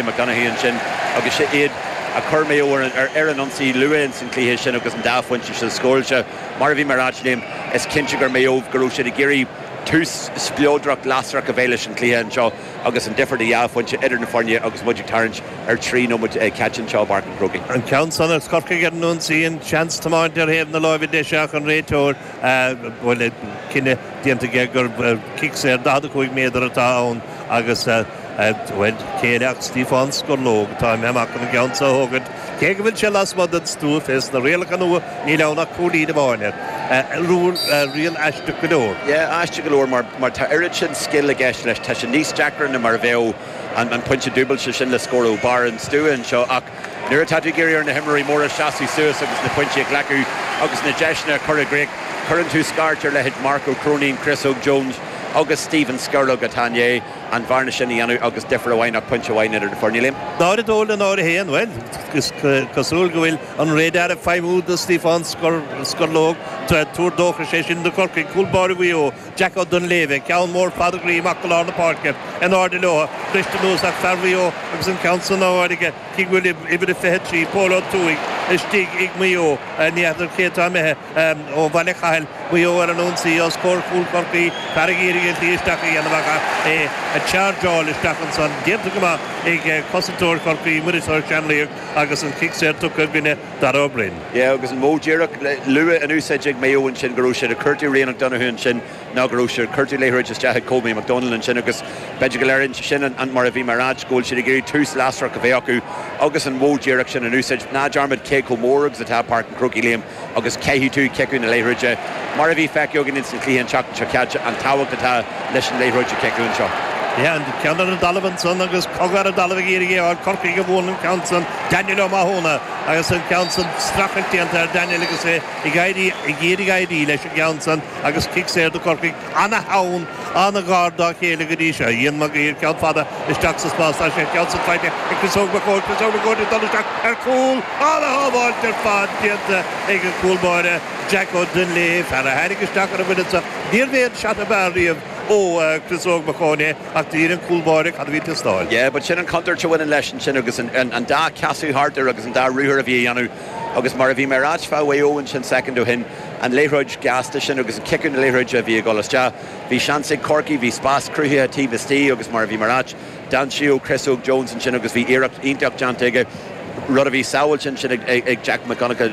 McDonagh ansin agus sin iad a chuir Maigh Eo ar an ionsaí luath ins an chluiche sin agus an dá phointe sin scóráilte. Mar a bhí mé a ráit Liam, is cinnte gur Maigh Eo go raibh siad ag iarraidh tús spleodrach lasrach a bheith leis an chluiche anseo agus an difear de dhá phointe idir na foirne agus muid ag tarraingt ar 3 nóiméad caite anseo i bPáirc an Chrócaigh. An ceann san ag Corcaigh ar an ionsaí, an seans tiomáint ar thaobh na láimhe deise ach an réiteoir, bhuel, cinneadh déanta aige gur cic saor 45 méadar atá ann agus Bhuel, cé eile ach Stiofán Scorlóg atá imithe amach chun an ceann so a thógaint. Cé go bhfuil sé lasmuigh den stua fés na rialacha nua, níl ann ach cúilín amháin air. Riail aisteach go leor. Yeah, aisteach go leor mar mar tá oiread sin scil i gceist leis. Tá sé níos deacra ná mar a bheadh an an pointe dúbailte sin le scór ó bharr an stua anseo ach nuair atá tú ag iarraidh ar na himreoirí móra seasamh suas agus na pointí a ghlacadh agus na deiseanna a chur i gcrích, cuireann tú scairt ar leithéid Mark Ó Cróinín, Chris Óg Jones agus Stephen Skerlog atá i ndiaidh an bhearna sin a dhéanamh agus difear amháin ach pointe amháin idir na foirne, Liam. 0-2 le 0-1, bhuel, is cosúil go bhfuil an radar ag feidhmiú do Stiofán Scorlóg. Tuar dóchais é sin do Chorcaigh. Cúl báire Mhaigh Eo, Jack Ó Duinnshléibhe, ceann mór fada groí amach go lár na páirce, in airde leo, briste anuas ach fear Mhaigh Eo agus an ceann san á fháil aige, cé go bhfuil uimhir a 23, Pól Ó Tuathaigh, istigh ag Maigh Eo, ní fheadar cé atá imithe. Ó Bhaile Chathail, Maigh Eo ar an ionsaí os comhair chúl Chorcaí, fear ag iarraidh an slí isteach a dhéanamh ach é ag chargeáil isteach ansan. Déanta go maith ag cosantóir Chorcaí, Muiris Ó Seanlaoich agus an cic saor tugtha i gcoinne Dara Ó Broin. Yeah agus an modh díreach luath in úsáid ag Maigh Eo ansin go raibh siad ag cuartú Rian O'Donoghue ansin ná go raibh siad ag cuartú liathróid isteach ag Colby McDonald ansin agus b'fhéidir go léiríonn sé sin an mar a bhí mé a ráit go bhfuil siad ag iarraidh tús lasrach a bheith acu agus an modh díreach sin in úsáid. Ná dearmad cé chomh mór agus atá Páirc an Chrócaigh Liam agus caithfidh tú ciceadh na liathróide, mar a bhí feicthe againn ins an chluiche an tseachtain seo caite, an tábhacht atá leis an liathróid a chiceadh anseo. Yeah, an ceann ar an dtalamh ansan agus cogadh ar an dtalamh ag iarraidh é a fháil. Corcaigh a bhuann an ceann san, Daniel Ó Mathúna agus an ceann san streachailt déanta ar Daniel agus é ag éirí, ag iarraidh éirí leis an gceann san agus cic saor do Chorcaigh. Ana-theann, ana-ghar dá chéile go dtí seo. Ian Mag Uidhir, ceann fada isteach sa spás. Tá sé an ceann san faighte ag Chris Óg Mac Eoin. Chris Óg Mac Eoin ag dul isteach ar chúl. Ana-shábháilt ar fad déanta ag an gcúl báire Jack Ó Duinnshléibhe, fear a tháinig isteach ar an bhuille seo. Níorbh é an seat ab fhearr riamh ó Chris Óg Mac Eoin é ach d'fhíor an cúl báire cad a bhí ag teastáil. Yeah, but sin an chontúirt a bhaineann leis ansin agus an dá casadh thart air agus an dá ruathar a bhí a dhéanamh agus mar a bhí mé a ráit fá Mhaigh Eo ansin soicind ó shin, an liathróid gasta sin agus an ciceadh na liathróide a bhí ag dul isteach. Bhí seans ag Corcaigh, bhí spás cruthaithe taobh istigh agus mar a bhí mé a ráit, d'aimsigh Chris Óg Jones ansin agus bhí iarracht iontach déanta aige, rud a bhí sábháilte ansin ag Jack Mac Donncha,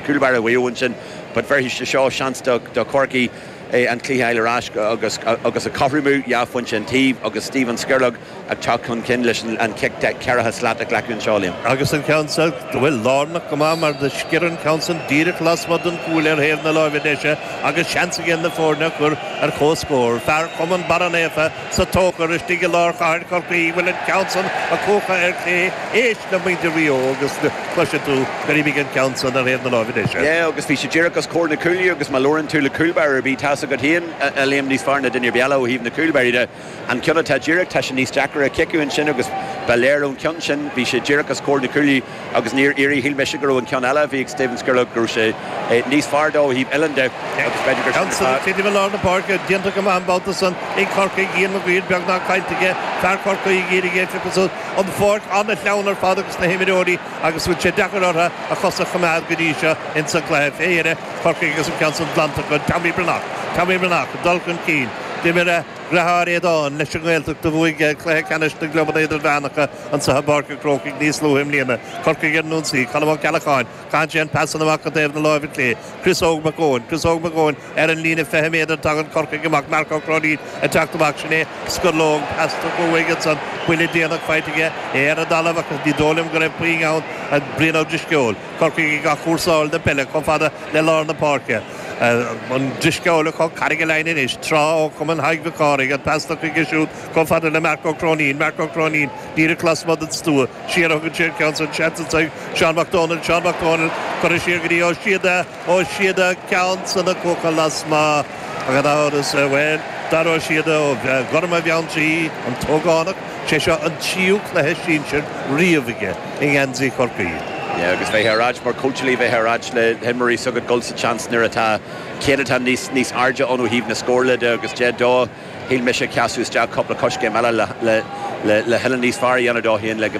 cúl báire Mhaigh Eo ansin. But bhéarfaidh sé seo seans do Chorcaigh an cluiche a fháil ar ais agus agus a chothromú, dhá phointe an taobh agus Stephen Skerlog ag teacht chun cinn leis an chic ceathracha slat a ghlacadh anseo, Liam. Agus an ceann seo, bhuel, lárnach go maith mar do sciorr an ceann san díreach lasmuigh den chúl ar thaobh na láimhe deise agus seans aige na foirne a chur ar comhscór. Fear Chumann Barra Naofa sa Tóchar istigh i lár chathair Chorcaí, bhfuil an ceann san á chuachadh ar chlé, éist le muintir Mhaigh Eo agus cloisfidh tú gur imigh an ceann san ar thaobh na láimhe deise. Yeah, agus bhí sé díreach os comhair na cuaille agus má labhrann tú le cúlbáire ar bith, tá's agat féin, a Liam, níos fearr ná duine ar bith eile ó thaobh na cúlbáirí de. An ceann atá díreach, tá sé níos deacra a chiceadh ansin agus ba léir ón cheann sin, bhí sé díreach os comhair na cuaille agus níor éirigh, shíl mise go raibh an ceann eile a bhí ag Stephen Skerlog, go raibh sé níos fearr dó ó thaobh uillinn de agus b'fhéidir gur sin Ceann san ag titim i lár na páirce, déanta go maith an babhta san ag Corcaigh, Ian Mag Uidhir beagnach caillte aige, fear Chorcaí ag iarraidh é a phiocadh suas, an pháirc an-shleamhain ar fad agus na himreoirí agus bhfuil sé deacair orthu a chosa a choimeád go dtí seo ins an gcluiche. Fé dheireadh, Corcaigh agus an ceann san glanta acu, Tommy Breathnach, Tommy Breathnach ag dul chun cinn, d'imir a dheartháir Aodán leis an nGaeltacht a bhuaigh cluiche ceannais na gclubanna idirmheánacha anseo i bPáirc an Chrócaigh níos luaithe i mbliana. Corcaigh ar an ionsaí, Colm Ó Ceallacháin, caitheann sé an pas san amach go taobh na láimhe clé. Chris Óg Mac Eoin, Chris Óg Mac Eoin ar an líne 20 méadar, tagann Corcaigh amach, Marc Ó Cróinín ag teacht amach, sin é Skerlog, pas tugtha uaidh ansan, buille déanach faighte aige, é ar an dtalamh ach ní dóigh liom go raibh puinn ann, Brian Ó Drisceoil. Corcaigh ag athchúrsáil na peile chomh fada le lár na páirce. An Drisceoil acu, Carraig an Leimhne anois, tráth ó Chumann Thaidhg Mhic Cárthaigh, an pas tugtha aige siúd chomh fada le Marc Ó Cróinín, Marc Ó Cróinín díreach lasmuigh den stua, siar a thugann sé an ceann san, seans anso ag Seán Mac Dónaill, Seán Mac Dónaill curtha siar go dtí Ó Síoda, Ó Síoda, ceann san á chuachadh lasmuigh, gan amhras, bhuel, Dara Ó Síoda ó Ghorma Bheanntraí, an t-ógánach, sé seo an tríú cluiche sinsir riamh aige i ngeansaí Chorcaí. Yeah, agus bheifeá ar ait mar cóitseálaí, bheifeá ar ait le himreoirí s'agat dul sa tseans nuair atá céatadán níos níos airde ann ó thaobh na scórála de agus 10-2. Shíl mise sheasamh isteach cúpla coiscéim eile le le le le thuilleadh níos fearr a dhéanamh dó féin le go.